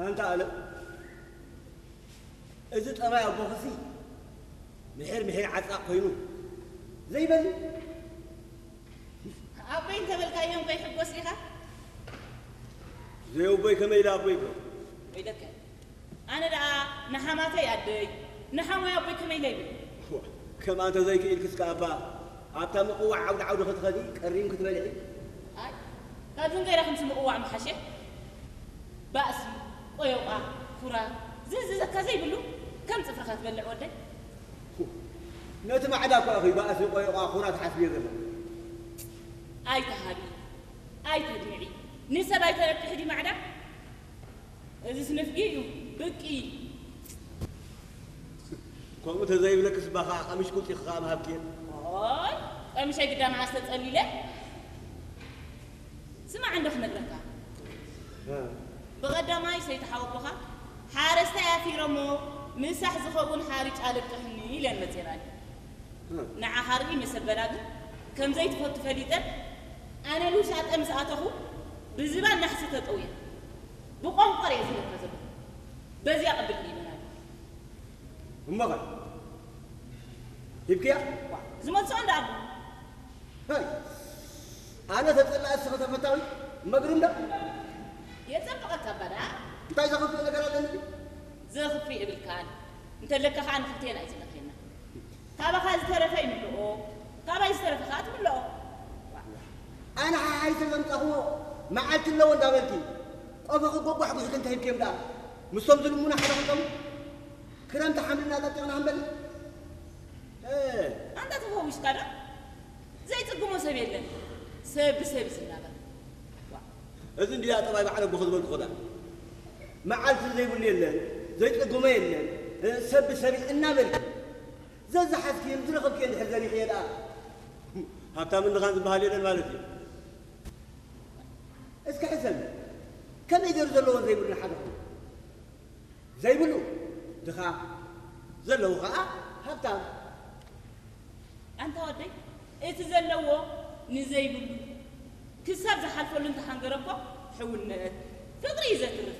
ኣንታ ኣለም፣ እዚ ጠባይ ኣቦኽሲ ምሒር ምሒር ዓጻቕ ኮይኑ ዘይበሊ። ኣቦይ እንተበልካዮም ከይሕጎስ ዲኻ? ዘይ ኣቦይ ከመይ ኢለ ኣቦይ ይብሎ? ወይለከ፣ ኣነ ደኣ ንሓማተይ ኣደይ ንሓሞይ ኣቦይ ከመይ ኢለ ይብል? ከምኣ እንተዘይክኢልክስ ከኣ ኣባ ኣብታ ምቕዋዕ ዓውዲ ዓውዲ ክትኸዲ ቀሪም ክትበልዒ። ኣይ፣ ካብዚ ንገይራ ከምዚ ምቕዋዕ ምሓሸ። ባእሲ፣ ቆዮቋ፣ ኩራ፣ ዝእዝዘካ ዘይብሉ ከም ጽፍርኻ ትበልዕ ወደይ። ነቲ ማዕዳ እኳ ኢኺ ባእሲ፣ ቆዮቋ፣ ኩራ ትሓስብዮ ዘለኺ። ኣይትሃቢ፣ ኣይተድምዒ፣ ንሰብ ኣይተረብሒ ድዩ ማዕዳ? እዚስ ንፍጊ እዩ፣ ብቂ። ከምኡ ተዘይብለክስ እባ ኸዓ ቀሚሽ ቁልጢ ኸዓ ምሃብኪ እየ። ኦይ፣ ቀሚሸይ ግዳ መዓስ ተጸሊለ? ስማዕ እንዶ ክነግረካ። እ። ብቐዳማይ ሰይቲ ሓወቦኻ ሓረስታይ ኣፊረሞ ምሳሕ ዝኸውን ሓርጭ ኣለቅሕኒ ኢለን መጺኣን። እ። ንዓኻ ርኢ መሰበላ ግን ከም ዘይትፈቱ ፈሊጠን ኣነ ልውሻጠ ምስ ኣተኹ ብዝባን ናሕሲ ተጠውየ ብቆንቆር እየ ዝብለካ ዘለኹ። በዚኣ ቅብል ኢለና። እሞኸ ሂብክያ? ዝመልሶ እንዳ ኣቡ ሀይ፣ ኣነ ተጸላእ እስኺ ተፈታዊ መግሪ እንዳ የጸብቐካ እባ ደኣ። እንታይ ዘኽፍእ ነገር ኣለኒ ድዩ? ዘኽፍእ የብልካን። እንተለካ ኸዓ ንኽልቴና እዩ ዝለኽየና። ካባኻ ዝተረፈ ይምልኦ፣ ካባይ ዝተረፈ ኸዓ ትምልኦ። ኣነ ሓሓይሰ ዘምጻኽዎ መዓልቲ ኣለዎ እንዳበልኪ ቆፎ ክጎጓሕ ጉሒኪ እንታይ ሂብክዮም ደኣ? ምስቶም ዝልሙና ሓደ ክልቶም ክረምቲ ሓምሊ እናጠጢቕና ክንበልዕ ኣንታ ተፈዊስካ ዶ? ዘይጽግሞ ሰብ የለን። ሰብ ብሰብ እዩ ዝናበር። እዚ እንድያ ጠባይ በዓል ኣቦኺ ዝበልኩኺ ደኣ። መዓልቲ ዘይብሉ የለን፣ ዘይጽግሞ የለን፣ ሰብ ብሰብ እዩ እናበልኪ ዘዝሓዝክዮን ዝረኸብክዮን ድሕር ዘሪኽዮ ደኣ ሃብታም እንድኻን ዝበሃል የለን ማለት እዩ። እስኪ ሕሰብ፣ ከመይ ገይሩ ዘለዎን ዘይብሉን ሓደ ኮይኑ? ዘይብሉ ድኻ፣ ዘለዉ ኸዓ ሃብታም። ኣንታ ወደይ፣ እቲ ዘለዎ ንዘይብሉ ክሳብ ዝሓልፈሉ እንተሓንገረ እኮ ሕውነት፣ ፍቕሪ እዩ ዘትርፍ።